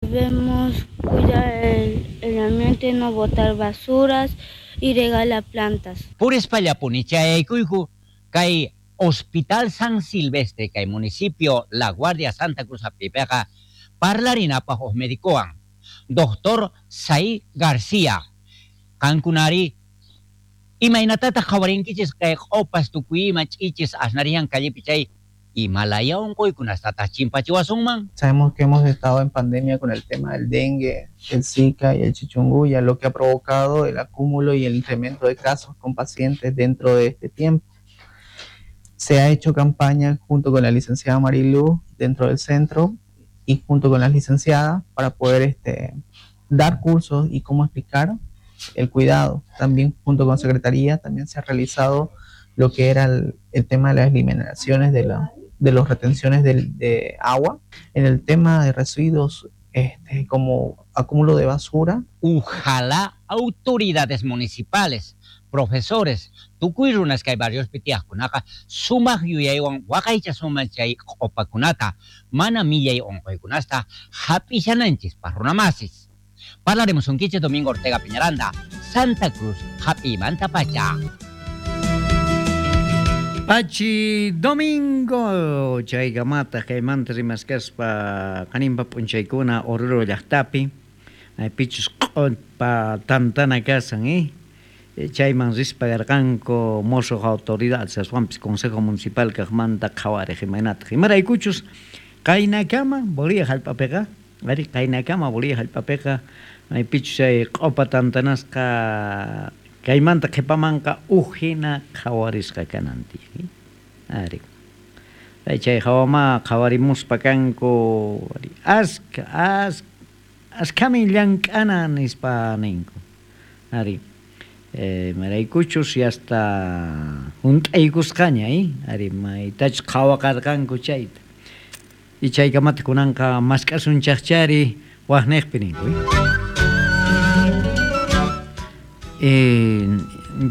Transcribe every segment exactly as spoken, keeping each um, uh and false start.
Debemos cuidar el, el ambiente, no botar basuras y regalar plantas. Purispallapuni chayaykuyku kay Hospital San Silvestre kay municipio La Guardia Santa Cruz apipeqa parlarinapaq huk medicowan Doctor Sai García. Qankunari imaynatataq qhawarinkichis kay q'opas tukuy ima ch'ichis asnariyan callepi chay imalaya unquykunastataq chimpachiwasunman. Sabemos que hemos estado en pandemia con el tema del dengue, el Zika y el chikungunya, lo que ha provocado el acúmulo y el incremento de casos con pacientes dentro de este tiempo. Se ha hecho campaña junto con la licenciada Marilu dentro del centro y junto con las licenciadas para poder este, dar cursos y cómo explicar el cuidado. También junto con Secretaría también se ha realizado lo que era el, el tema de las eliminaciones de, la, de las retenciones de, de agua. En el tema de residuos este, como acúmulo de basura. Ojalá autoridades municipales, profesores, tukuy runas kay barriospi tiyaqkunaqa sumaq yuyaywan waqaychasunman chay q'upakunata mana millay unquykunasta hap'ishananchispaq runamasis. Parlarimusunkichis Domingo Ortega Peñaranda, Santa Cruz, hap'iymanta pacha. Pachi Domingo chaykamata kaymanta rimaskaspa qaninpa p'unchaykuna Oruro llaqtapi maypichus q'upa tantana kasan eh chayman rispa karqanku mosuq autoridades aswanpis Consejo Municipal kaqmanta qhawariq imaynataq imaraykuchus qaynakama Bolivia hallp'apiqa ari qaynakama Bolivia hallp'apiqa maypichus chay q'upa tantanasqa kaymanta qhipamanqa uj hina qhawarisqa kanan tiyan ari chay hawama qhawarimuspa kanku ari aska aska askamin llank'ana nispa ninku ari eh, maraykuchus yasta hunt'aykusqaña eh ari maytachus qhawaqarqanku chayta y chaykamata kunanqa mask'asunchaqchari waqniqpi ninku eh. Eh,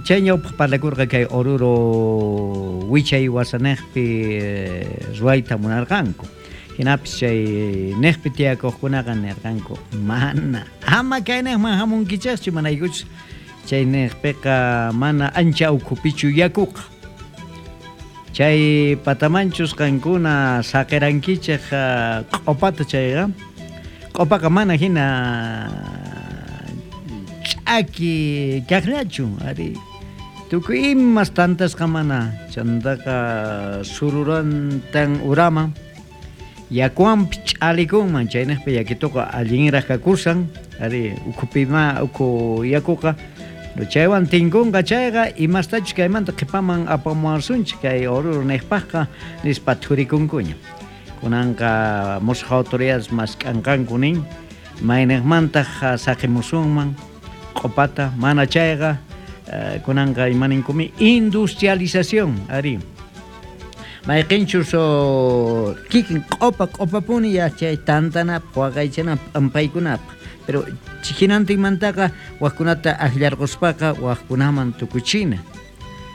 chay ñawpaq parlakurqa kay Oruro wichay wasanejpi eh, ruwayta munarqanku hinapis chay nejpi tiyakuqkunaqa nirqanku mana ama kaynejman hamunkichaqchu manaykuchus chay nejpiqa mana ancha ukhupichu yakuqa chay patamanchus qankuna saqirankichaq q'upata chayqa q'upaqa mana hina ch'aki kaqllachu ari tukuy imas tantasqa mana chantaqa sururantan urama yakuwanpi ch'alikunman chaynejpi yakituqa allinraq kakusan ari ukhupima ukhu yakuqa chaywan tinkunqa chayqa imastachus kaymanta qhipaman apamuwasunchik kay Oruro niqpaqqa nispa thurikunkuña kunanqa musuq autoridades mask'anqanku nin mayniqmantaq saqimusunman q'upata mana chayqa kunanqa imaninkumi industrialización ari mayqinchus kikin q'upa q'upapuni ya chay tantanapaq waqaychanapaq p'ampaykunapaq pero hinantinmantaqa waqkunata akllarquspaqa waqkunaman tukuchina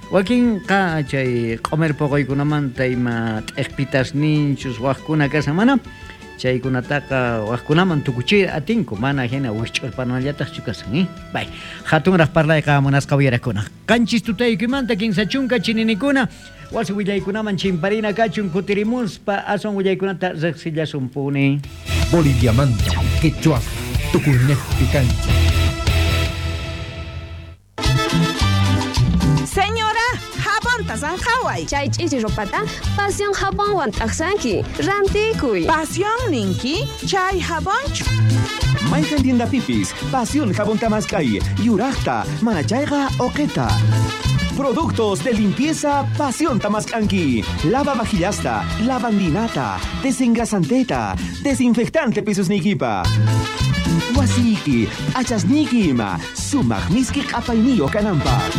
wakinqa chay q'umir puquykunamanta ima t'ikpitasninchus waqkuna kasan mana chaykunataqa waqkunaman tukuchir atinku mana hina wikch'urpanallataqchu kasan eh bay hatunraq parlayqa munasqa uyarakuna qanchis tutaykimanta kinsa chunka chininikuna wasi willaykunaman chimparina kachun kutirimuspa aswan willaykunata riqsillasunpuni. Boliviamanta quechua tukuynejpi kancha. Señora, jabonta sanjaway. Chay ch'ichi ropata Pasión jabonwan t'aqsanki. Rantikuy. Pasión ninki, chay jabonchu. Mayqan tiendapipis, Pasión jabón tamaskay, yuraqta, manachayqa oqeta. Productos de limpieza Pasión Tamascanqui. Lava vajillasta, lavandinata, desengrasanteta, desinfectante pisos nikipa. Wasiki, achasniki ima, sumaq miski q'apayniyo kananpaq.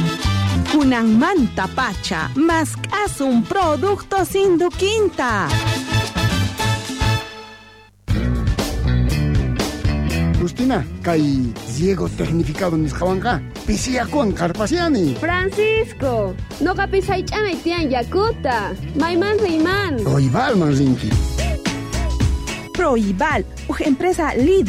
Kunanmanta pacha, mask'asun productos Induquinta. Justina, kay riego tecnificado nisqawanqa pisiyakuwan qarpasiani. Francisco, noqapis haych'anay tiyan yakuta. Mayman riyman. Proibalman rinki. Proibal, uj empresa líder.